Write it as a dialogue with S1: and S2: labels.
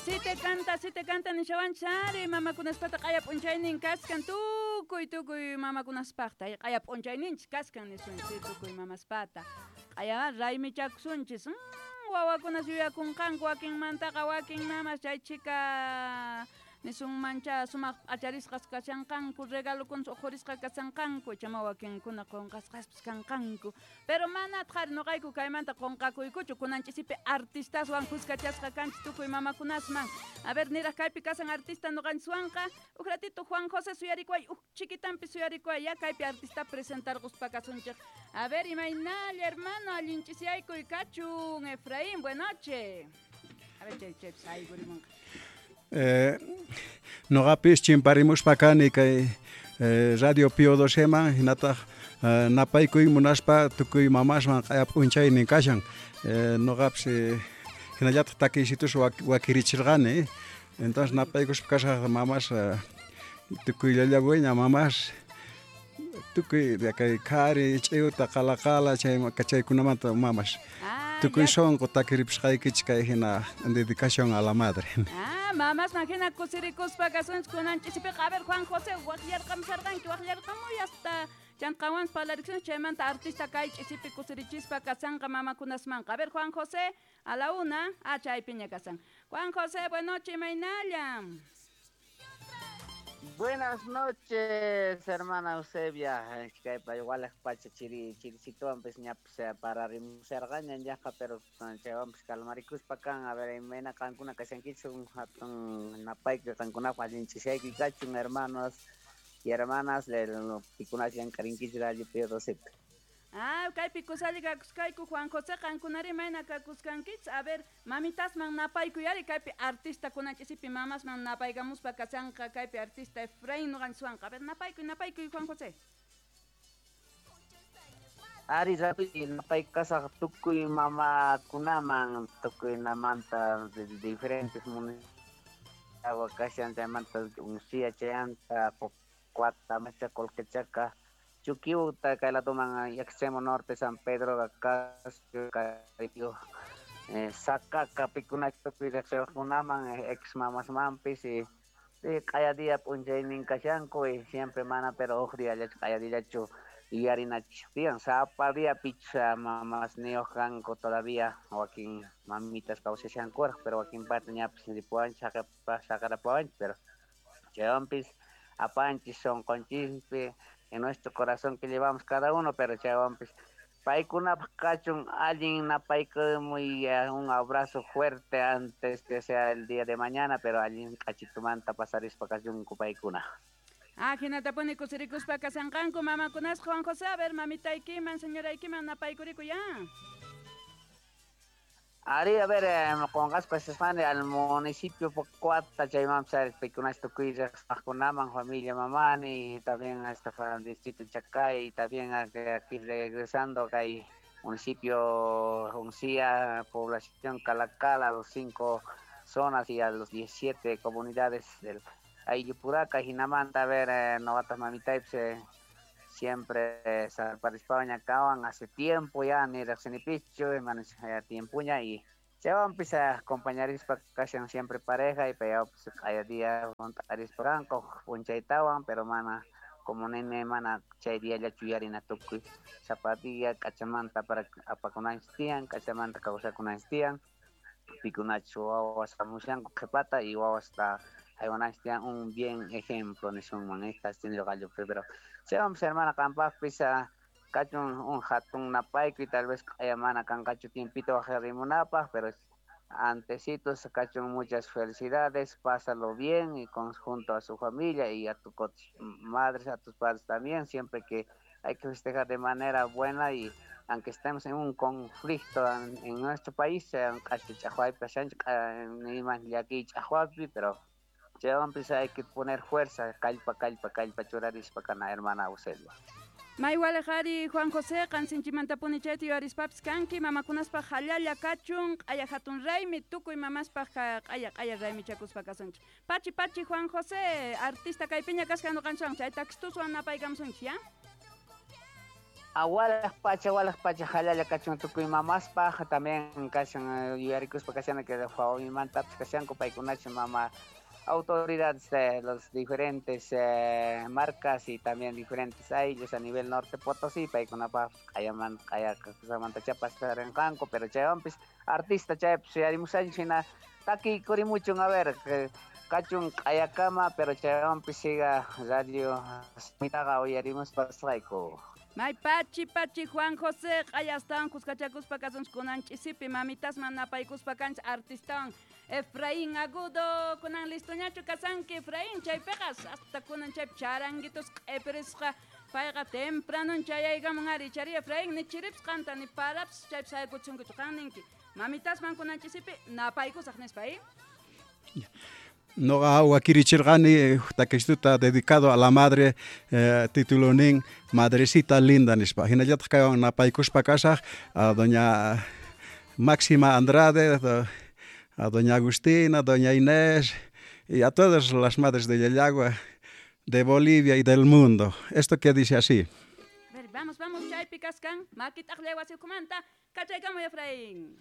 S1: Así te canta, así te canta nishawanchis ari mamakunaspata q'aya p'unchaynin kaskan tukuy tukuy mamakunaspaqta q'aya p'unchayninchis kaskan nisunchis tukuy mamaspata q'aya raymichakusunchis wawakunas yuyakunqanku wakinmantaqa wakin mamas chay chhika nisunmancha sumaq p'acharisqas kashanqanku regalokunas uqhurisqa kashanqanku chama wakinkuna qunqasqaspis kanqanku pero manataq ari nuqayku kaymanta qunqakuykuchu kunan ch'isipi artistaswan kuskachasqa kanchis tukuy mamakunasman. A ver, niraq kaypi kasan artista nuqanchiswanqa uj ratito Juan José suyarikuway uj chiquitanpi suyarikuway ya kaypi artista presentarquspa kasunchik. A ver, imaynalla hermano allin ch'isiyaykuy kachun Efraín, buenas noches. A ver, chay chaypi saykurimunqa.
S2: Noqapis chimparimuspa kani kay Radio Pío XII-man hinataq napaykuy munaspa tukuy mamasman q'aya p'unchaynin kashan. Noqapis hinallataq takiysitus wakirichirqani. Entonces napaykuspa kasaq mamas tukuy llallabueña mamas tukuy kay qhari ch'iwta qalaqala chay chaykunamanta mamas. Tukuy sonqo takiripisqaykichik kay hina dedicación a la madre.
S1: Ah, mamasman hina kusirikuspa kasunchik kunan ch'isipiqa. A ver, Juan José, waqllarqamusarqanki, waqllarqamuy hasta chanqawanpas parlariksunchik chaymanta artista kay ch'isipi kusirichispa kasanqa mamakunasmanqa. A ver, Juan José, a la una, ah, chaypiña kasan. Juan José, buenas noches, imaynalla.
S3: Buenas noches, hermana Eusebia. Kaypa igual pacha chiri chirisituanpis ñapis pararimusarqaña llaqta, pero chaywanpis calmarikuspa kan. A ver, imayna qankuna kashankichik hatun napayku qankunapaq allin ch'isiyayki kachun, hermanos y hermanas, pikunas llank'arinkichik Radio Pío XII.
S1: Ah, kaypi kusalli kakuskayku Juan José qankunari mayna kakuskankichis. A ver, mamitasman napaykuy ari kaypi artista kunan ch'isipi mamasman napaykamuspa kasanqa kaypi artista Efraín nuqanchiswanqa. A ver, napaykuy, napaykuy Juan José.
S3: Ari rapi napaykasaq tukuy mamakunaman tukuynamanta de diferentes municipios kashan chaymanta Uncia chayanta Cuata Macha Colquechaca Chuquiuta, kay ladoman extremo norte, San Pedro, Acasio, Caribe, Sacaca, Picunacho, Pirexiunaman, ex mamas mampis, y cada día p'unchaynin kashanku, y siempre mana, pero uj día llachu, cada día llachu, y harinach tiyan, sapa día picha mamas nioj kanku todavía, wakin mamitas kawsashankuraq, pero wakin parte ñapis ripuwanchik, saqarapuwanchik, pero chaywanpis apanchis sonqonchispi, en nuestro corazón que llevamos cada uno, pero chaywanpis paykunapaq kachun allin napaykamuy un abrazo fuerte antes que sea el día de mañana, pero allin k'achitumanta pasarispa kachunku paykuna.
S1: Ah, hinatapuni kusirikuspa kasanqanku mamakunas Juan José, a ver, mamitaykiman, señoraykiman napaykuriku ya.
S3: Ari, a ver, qunqaspa sisqani al municipio Pocuata, chaymanpas paykunas tukuy riqsaqkunaman, familia mamani, y también hasta el distrito Chacay, y también aquí regresando kay municipio Uncía, población Calacala, a los 5 zonas y a los 17 comunidades del Ayllupuraca, Jinamanta, a ver, novatas mamitaypis, siempre salparispaña acaban hace tiempo ya, ni riqsinipischu, tiempuña, y chaywanpis acompañarispa kashan siempre pareja, y payawpis q'aya día junt'arispa kanku p'unchaytawan, pero mana como nene mana chay diallachu yuyarina tukuy sapa día k'achamanta para apakunanchis tiyan, k'achamanta kawsakunanchis tiyan, pikunachus wawas hamushanku qhipata y wawasta haywananchis tiyan un bien ejemplo nisunman, casi gallo, pero chaywanpis hermana qampaqpis kachun un hatun napaykuy, tal vez q'aya mana kanqachu tiempito waqarimunapaq, pero antecitos kachun muchas felicidades, pásalo bien y junto a su familia y a tus madres, a tus padres también, siempre que hay que festejar de manera buena y aunque estemos en un conflicto en nuestro país, pero hay que poner fuerza, kallpa, kallpa, kallpa, churarispa kana hermana Eusebia.
S1: Maywalejari Juan José, qansinchimantapuni chayta yuyarispapis kanki, mamakunaspaq hallalla kachun, q'aya hatun raymi, tukuy mamaspaq q'aya q'aya raymichakuspa kasunchik. Pachi pachi Juan José, artista kaypiña kasqa ñuqanchikwan, chay taxtuswan napaykamusunchik, ya?
S3: Walaj pacha jalalla kachun tukuy mamaspaj también kashan yuyarikuspa kashana que mantapis kashanku paykunacha mama autoridades de los diferentes marcas y también diferentes ayllos a nivel norte Potosí, paykunapaj q'ayaman q'ayasamanta chapastarenqanku, pero chaywanpis artista chaypis yuyarimushanchik hina takiykurimuchun a ver kachun q'ayakama, pero chaywanpis siga radio mitaqa uyarimuspa kasqayku.
S1: May pachi pachi Juan José q'ayastawan kuskachakuspa kasunchik kunan ch'isipi mamitasman napaykuspa kanchik artistawan Efraín Agudo kunan listoñachu kasanki Efraín chaypiqa hasta kunan chaypi charanguitos q'ipirisqa payqa tempranon chayaykamun ari chari Efraín ni chiripis qanta ni parapis chaypi saykuchunkichu qan ninki mamitasman kunan ch'isipi napaykusaq nispa
S2: Noqa wakirichirqani takistuta dedicado a la madre, título nin Madrecita Linda nispa. Hinallataq kaywan napaykuspa kasaq a doña Máxima Andrade, a doña Agustina, doña Inés y a todas las madres de Llallagua, de Bolivia y del mundo. Esto que dice así.
S1: A ver, vamos, vamos, chaypi kaskan, makitaqllay wasi ukhumanta, kachaykamuy Efraín.